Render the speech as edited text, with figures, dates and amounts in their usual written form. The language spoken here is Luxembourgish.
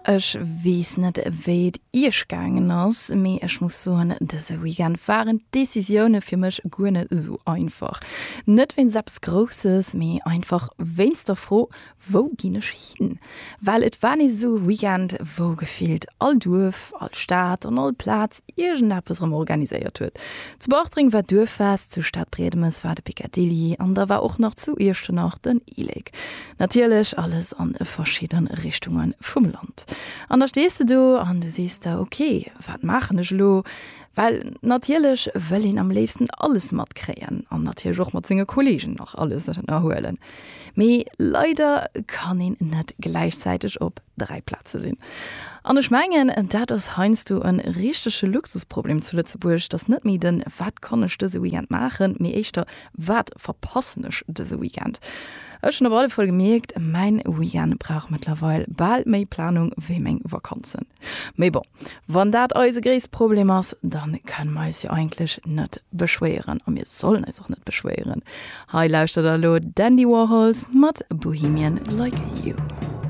Ech weess net wéi et iech gaangen ass, mee ech muss soen, dëse Weekend waren d'Decisioune fir mech guer net esou einfach. Net wéinst eppes Grousses, mee einfach wéinst der Fro, Wou ginn ech hin? Well et war nees esou e Weekend, wou gefillt all Duerf, all Stad an all Plaz iergendeppes erëm organiséiert huet. Zu Bartreng war d'Duerffest, zu Stadbriedemes war de Picadilly an da war och nach zu Iechternach den E-Lake. Natierlech alles an verschidde Richtunge vum Land. An da stees de do an du sees der, ok, wat maachen ech elo? Well natierlech wëll een am léifsten alles matkréien an natierlech och mat senge Kolleegen nach alles ënnerhuelen. Mee leider kann een net gläichzäiteg op 3 Plaze sinn. An ech mengen, dat ass heiansdo e richtege Luxusproblem zu Lëtzebuerg, dass net méi den Wat kann ech dëse Weekend maachen, mee éischter Wat verpassen ech dëse Weekend? Ech hunn op alle Fall gemierkt, mäin Weekend brauch mëttlerweil bal méi Planung wéi meng Vakanzen. Mee bon, wann dat eise gréisst Problem ass, dann kënne mer eis jo eigentlech net beschwéieren a mir sollen eis och net beschwéieren. Hei lauschtert der elo d'Andy Warhols mat Bohemian Like You.